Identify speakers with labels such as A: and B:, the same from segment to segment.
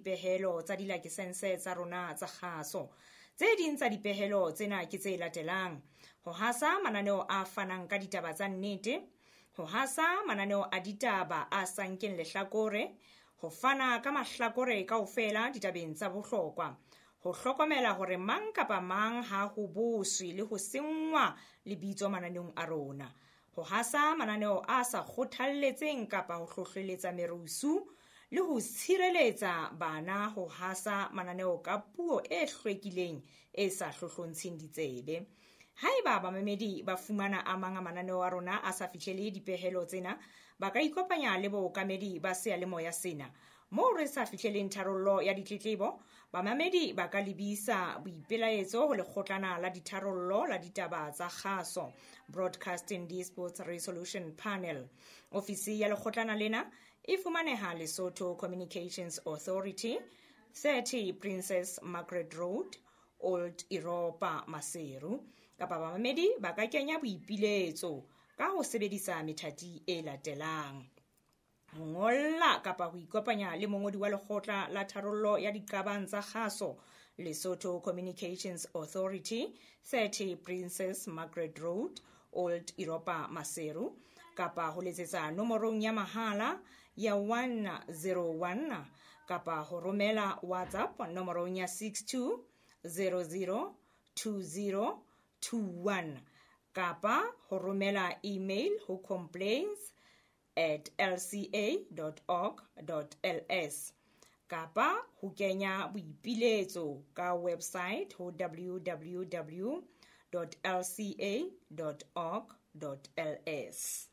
A: dipehelo tsa dilakesense tsa rona tsa kgaso. Tse ding tsa dipehelo tsena ke tse latelang: ho hasa mananeo a fanang ka ditaba tsa nnete, ho hasa mananeo a ditaba a sa nkeng lehlakore, ho fana ka mahlakore kaofela ditabeng tsa bohlokwa, ho hlokomela hore mang kapa mang ha ho boswe le ho senngwa lebitso mananeong a rona, ho hasa mananeo a sa kgothalletseng kapa ho hlohleletsa merusu, le ho tshireletsa bana ho hasa mananeo ka puo e hlwekileng e sa hlohlontsheng ditsebe. Haeba bamamedi ba fumana a mang a mananeo a rona a sa fihlele dipehelo tsena, ba ka ikopanya le bookamedi ba seyalemoya sena. Moo re sa fihleleng tharollo ya ditletlebo, bamamedi ba ka lebisa boipelaetso ho lekgotlana la ditharollo la ditaba tsa kgaso, Broadcasting Disputes Resolution Panel. Ofisi ya lekgotlana lena e fumaneha Lesotho Communications Authority, 30 Princess Margaret Road, Old Europa, Maseru. Kapa bamamedi ba ka kenya boipiletso ka ho sebedisa methati e latelang: ho ngolla kapa ho ikopanya le mongodi wa lekgotla la tharollo ya diqabang tsa kgaso, Lesotho Communications Authority, 30 Princess Margaret Road, Old Europa, Maseru, kapa ho letsetsa nomorong ya mahala ya 101, kapa ho romela WhatsApp nomorong ya 62 00 20 21, kapa ho romela email ho complaints@lca.org.ls, kapa ho kenya boipiletso ka website ho www.lca.org.ls.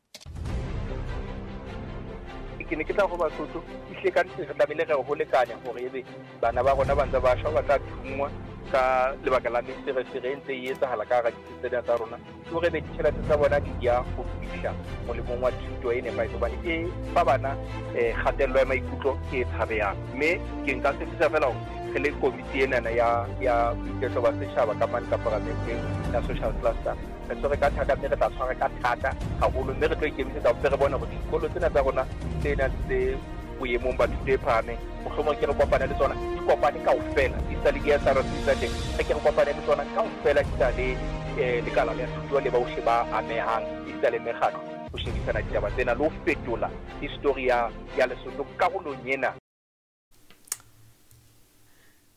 B: Ke ne ke tla go Basotho ehlile ka nnete re tlamehile re ho lekanya hore ebe bana ba rona ba ntse ba shwa, ba tla thungwa ka lebaka la meferefere e ntse e etsahala ka hara ditsi tsena tsa rona, ke hore ebe ditjhelete tsa bona di ya ho fihla molemong wa thuto e nepahetseng, hobane e fa bana kgatello ya maikutlo e tshabehang. Mme ke nka tshepisa fela hore re le komiti enana ya boiketlo ba setjhaba ka mane ka paramenteng ya social cluster, re tshwere ka thata, mme re tla tshwara ka thata haholo, mme re tlo ikemisetsa hore re bone hore dikolo tsena tsa rona tse nang tse boemong ba thuto e phahameng, mohlomong ke re kopane le tsona, di kopane kaofela, di sa le di-SRC tsa teng, re ke re kopane le tsona kaofela, di sa le lekala la thuto le bohle ba amehang, di sa le mekgatlo, ho shebisana ditaba tsena le ho fetola history ya Lesotho karolong ena.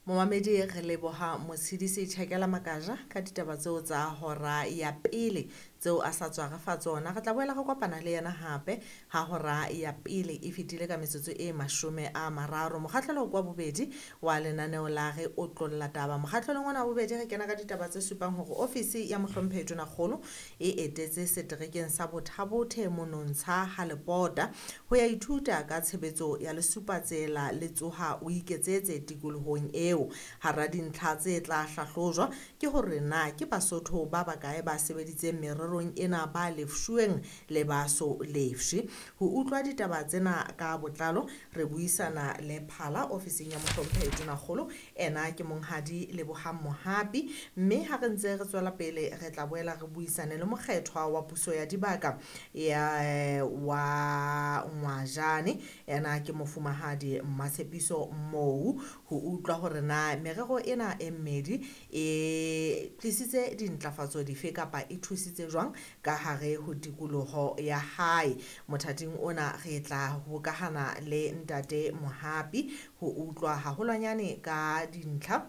C: Momamedi, re leboha Motshidisi Tjhakela Makaja ka ditaba tseo tsa hora ya pele tseo a sa tswa re fa tsona. Re tla boela re kopana le yena hape ha hora ya pele e fetile ka metsotso e 30. Mokgahlelo kwa bobedi wa lenaneo la Re Otlolla Taba. Mokgahlelong ona wa bobedi re kena ka ditaba tse supang hore ofisi ya mohlomphehi Tonakgolo e etetse seterekeng sa Bothabothe Monontsha ha Lepota ho ya ithuta ka tshebetso ya lesupatsela le tsoha o iketsetse tikolohong eo. Hara dintlha tse tla hlahlojwa ke hore na ke Basotho ba bakae ba sebeditseng mererong ena ba lefshuweng le ba so lefshe. Ho utlwa ditaba tsena ka botlalo re buisana le Phala ofising ya mohlomphehi Tonakgolo, ena ke monghadi Lebohang Mohapi, mme ha re ntse re tswela pele re tla boela re buisane le mokgethwa wa puso ya dibaka ya wa Ngwajane, ena ke mofumahadi Mmatshepiso Mou, ho utlwa hore na merero ena e mmedi e tlisitse dintlafatso dife kapa e thusitse jwang ka hare ho tikoloho ya hae. Mothating ona re tla hokahana le ntate Mohapi ho utlwa haholwanyane ka dintlha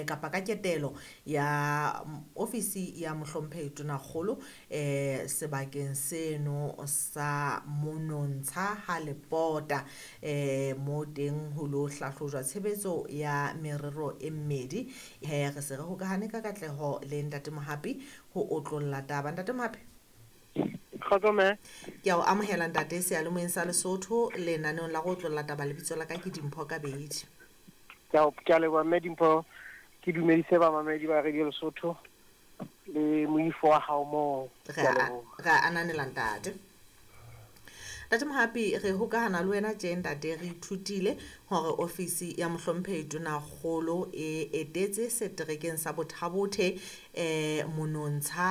C: kapa ka ketelo ya ofisi ya mohlomphehi Tonakgolo sebakeng seno sa Monontsha ha Lepota, mo teng ho lo hlahlojwa tshebetso ya merero e mmedi. Re se re hokahane ka katleho le ntate Mohapi ho otlolla taba. Ntate Mohapi,
D: Kgotso mme.
C: Ke a o amohela ntate seyalemoyeng sa Lesotho lenaneong la go otlolla taba. Lebitso la ka ke Dimpho Kabedi.
D: Ke a leboha mme Dimpho, ke dumedise bamamedi ba Radio Lesotho le moifo wa hao moo.
C: Re a ananela ntate. Ntate Mohapi, re hokahana le wena tje ntate, re ithutile hore ofisi ya mohlomphehi Tonakgolo e etetse seterekeng sa Bothabothe Monontsha